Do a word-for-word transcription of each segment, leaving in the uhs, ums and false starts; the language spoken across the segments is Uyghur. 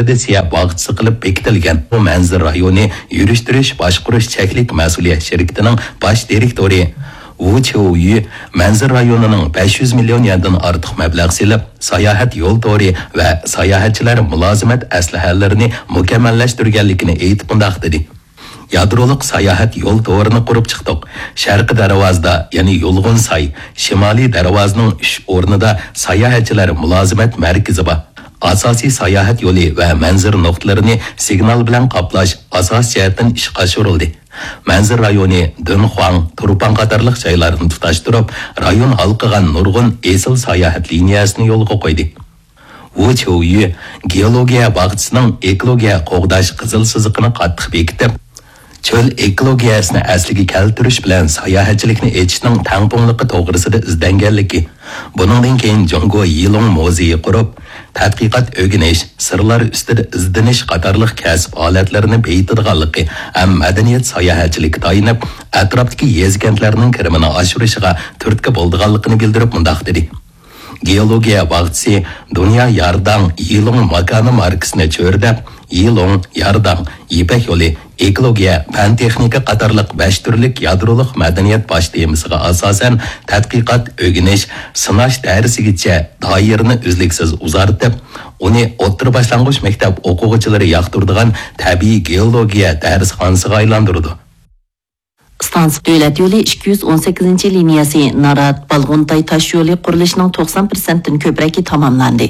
ترادىتسىيە باغچىسى قىلىپ بېكىتىلگەن بۇ مەنزىرە رايونى يۈرۈشتۈرۈش باشقۇرۇش چەكلىك مەسئۇلىيەت شىركىتىنىڭ باش دىرېكتورى ۋۇ چيۇيۈ مەنزىرە رايونىنىڭ بەش يۈز مىليون يەندىن ئارتۇق مەبلەغ سېلىپ، ساياھەت يول تورى ۋە ساياھەتچىلەر مۇلازىمەت ئەسلىھەلىرىنى مۇكەممەللەشتۈرگەنلىكىنى ئېيتىپ مۇنداق دېدى: يادرولۇق ساياھەت يول تورىنى قۇرۇپ چىقتۇق. شەرقىي دەرۋازىدا، يەنى يۇلغۇن ساي، شىمالىي دەرۋازىنىڭ ئۈچ ئورنىدا ساياھەتچىلەر مۇلازىمەت مەركىزى بار. ئاساسىي ساياھەت يولى ۋە مەنزىرە نۇقتىلىرىنى سىگنال بىلەن قاپلاش ئاساسىي جەھەتتىن ئىشقا ئاشۇرۇلدى. مەنزىرە رايونى دۇنخۇاڭ، تۇرپان قاتارلىق جايلارنى تۇتاشتۇرۇپ، رايون ھالقىغان نۇرغۇن ئېسىل ساياھەت لىنىيەسىنى يولغا قويدى. ۋۇ چيۇيۈ گېئولوگىيە باغچىسىنىڭ ئېكولوگىيە قوغداش قىزىل سىزىقىنى قاتتىق بېكىتىپ، چۆل ئېكولوگىيەسىنى ئەسلىگە كەلتۈرۈش بىلەن ساياھەتچىلىكنى ئېچىشنىڭ تەڭپۇڭلۇقى توغرىسىدا ئىزدەنگەنلىكى، بۇنىڭدىن كېيىن جۇڭگو يىلۇڭ مۇزېيى قۇرۇپ، تەتقىقات، ئۆگىنىش، سىرلار ئۈستىدە ئىزدىنىش قاتارلىق كەسىپ ھالەتلىرىنى بېيىتىدىغانلىقى ھەم مەدەنىيەت ساياھەتچىلىكى تايىنىپ، ئەتراپتىكى يېزا-كەنتلەرنىڭ كىرىمىنى ئاشۇرۇشىغا تۈرتكە بولىدىغانلىقىنى بىلدۈرۈپ مۇنداق دېدى: گېئولوگىيە باغچىسى دۇنيا يارداڭ يىلۇڭ ماكانى ماركىسىنى چۆرىدەپ، يىلۇڭ، يارداڭ، يىپەك يولى، ئېكولوگىيە، پەن-تېخنىكا قاتارلىق بەش تۈرلۈك يادرولۇق مەدەنىيەت باش تېمىسىغا ئاساسەن تەتقىقات، ئۆگىنىش، سىناش دەرسىگىچە دائىرىنى ئۈزلۈكسىز ئۇزارتىپ، ئۇنى ئوتتۇرا باشلانغۇچ مەكتەپ ئوقۇغۇچىلىرى ياقتۇرىدىغان تەبىئىي گېئولوگىيە دەرسخانىسىغا ئايلاندۇرىدۇ. ئىستانسا دۆلەت يولى ئىككى يۈز ئون سەككىزىنچى لىنىيەسى نارات، بالغۇنتاي تاش يولى قۇرۇلۇشىنىڭ توقسان پىرسەنتتىن كۆپرەكى تاماملاندى.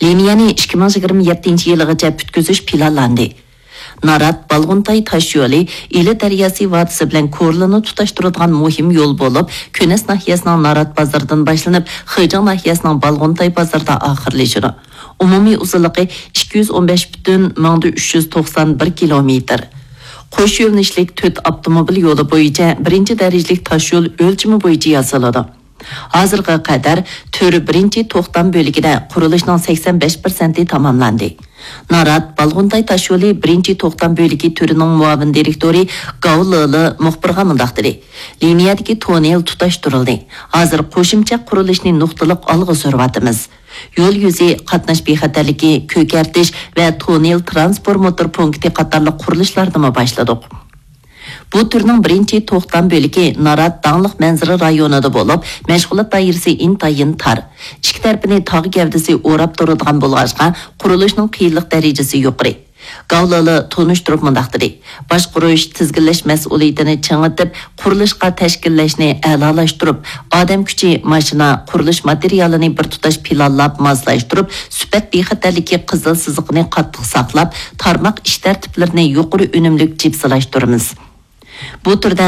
لىنىيەنى ئىككى مىڭ يىگىرمە يەتتىنچى يىلىغىچە پۈتكۈزۈش پىلانلاندى. نارات، بالغۇنتاي تاش يولى ئىلى دەرياسى ۋادىسى بىلەن كورلىنى تۇتاشتۇرىدىغان مۇھىم يول بولۇپ، كۈنەس ناھىيەسىنىڭ نارات بازىرىدىن باشلىنىپ، خېجىڭ ناھىيەسىنىڭ بالغۇنتاي بازىرىدا ئاخىرلىشىدۇ. ئومۇمىي ئۇزۇنلۇقى ئىككى يۈز ئون بەش پۈتۈن مىڭدا ئۈچ يۈز توقسان بىر كىلومېتىر. قوش يۆنىلىشلىك تۆت ئاپتوموبىل يولى بويىچە بىرىنچى دەرىجىلىك تاش يول ئۆلچىمى بويىچە ياسىلىدۇ. ھازىرغا قەدەر تۈر بىرىنچى توختام بۆلىكىدە قۇرۇلۇشنىڭ سەكسەن بەش پىرسەنتى تاماملاندى. نارات، بالغۇنتاي تاش يولى بىرىنچى توختام بۆلىكى تۈرىنىڭ مۇئاۋىن دىرېكتورى گاۋ لېلې مۇخبىرغا مۇنداق دېدى: لىنىيەدىكى توننېل تۇتاشتۇرۇلدى. ھازىر قوشۇمچە قۇرۇلۇشنى نۇقتىلىق ئالغا سۈرۈۋاتىمىز. يول يۈزى قاتناش بىخەتەرلىكى، كۆكەرتىش ۋە توننېل ترانسفورماتور پونكىتى قاتارلىق قۇرۇلۇشلاردىمۇ باشلىدۇق. بۇ تۈرنىڭ بىرىنچى توختام بۆلىكى نارات داڭلىق مەنزىرە رايونىدا بولۇپ، مەشغۇلات دائىرىسى ئىنتايىن تار. ئىككى تەرىپىنى تاغ گەۋدىسى ئوراپ تۇرىدىغان بولغاچقا، قۇرۇلۇشنىڭ قىيىنلىق دەرىجىسى يۇقىرى. گاۋ لېلې تونۇشتۇرۇپ مۇنداق دېدى: باشقۇرۇش، تىزگىنلەش مەسئۇلىيىتىنى چىڭىتىپ، قۇرۇلۇشقا تەشكىللەشنى ئەلالاشتۇرۇپ، ئادەم كۈچى، ماشىنا، قۇرۇلۇش ماتېرىيالىنى بىر تۇتاش پىلانلاپ ماسلاشتۇرۇپ، سۈپەت بىخەتەرلىكى قىزىل سىزىقىنى قاتتىق ساقلاپ، تارماق ئىش تەرتىپلىرىنى يۇقىرى ئۈنۈملۈك جىپسىلاشتۇرىمىز. بۇ تۈردە